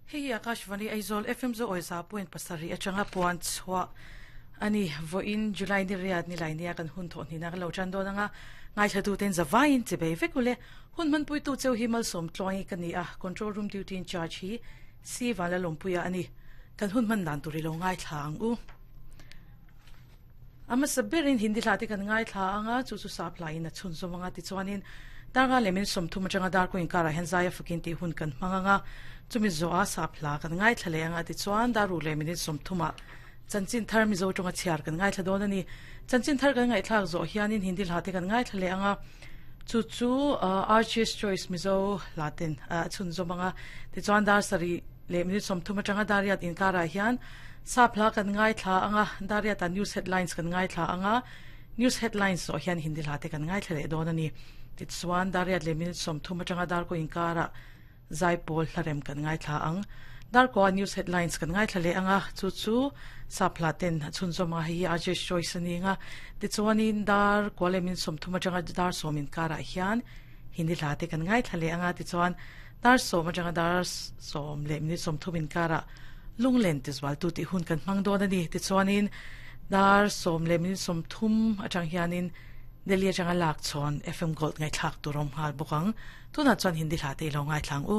Hei hi Akashvani Aizawl FM zo awi 100.7 atanga puan chhuah a ni. Vawiin July ni riat ni lai nia kan hun thawh hnihna kan lo tan dawn anga ngaithla ten zavaiin che bei vek ule. Hun hmanpuitu cheu hi malsawm tluangi ka ni a, control room duty in charge hi C Vanlalawmpuia a ni. Kan hun hman dan tur i lo ngaithla ang u. A hmasa berin Hindi hla te kan ngaithla anga chu chu sap hla in a chhunzawm anga tichuanin darnga leh min 30 atanga darkaw inkarah hian zai a fakin tih hun kan hmang anga chumi zawha sap hla kan ngaithla leh anga tichuan daruk leh minute 30 ah chanchin thar Mizo tawnga chhiar kan ngaithla dawn a ni. Chanchin thar kan ngaihthlak zawh hianin Hindi hla te kan ngaithla leh anga chu chu Archie's Choice Mizo hla ten a chhunzawm anga tichuan dar sarih leh minute 30 atanga dariat inkarah hian sap hla kan ngaithla anga dariata news headlines kan ngaithla anga news headlines zawh hian Hindi hla te kan ngaithla leh dawn a ni. Tichuan dariat leh minute 30 atanga darkaw inkarah zaipawl hlarem kan ngaithla ang. Darkaw news headlines kan ngaithla leh anga chu chu sap hla ten a chhunzawm anga hei hi Archie's Choice a ni anga tichuanin dar kua leh minute 30 atanga dar sawm inkarah hian Hindi hla te kan ngaithla leh anga tichuan dar sawm atanga dar sawm leh minute 30 inkarah lunglen tizualtu tih hun kan hmang dawn a ni. Tichuanin dar sawm leh minute 30 atang hianin Delhi atanga lak chhawn FM Gold ngaihthlak tur awm nghal bawk ang. Tunah chuan Hindi hla te i lo ngaithla ang u.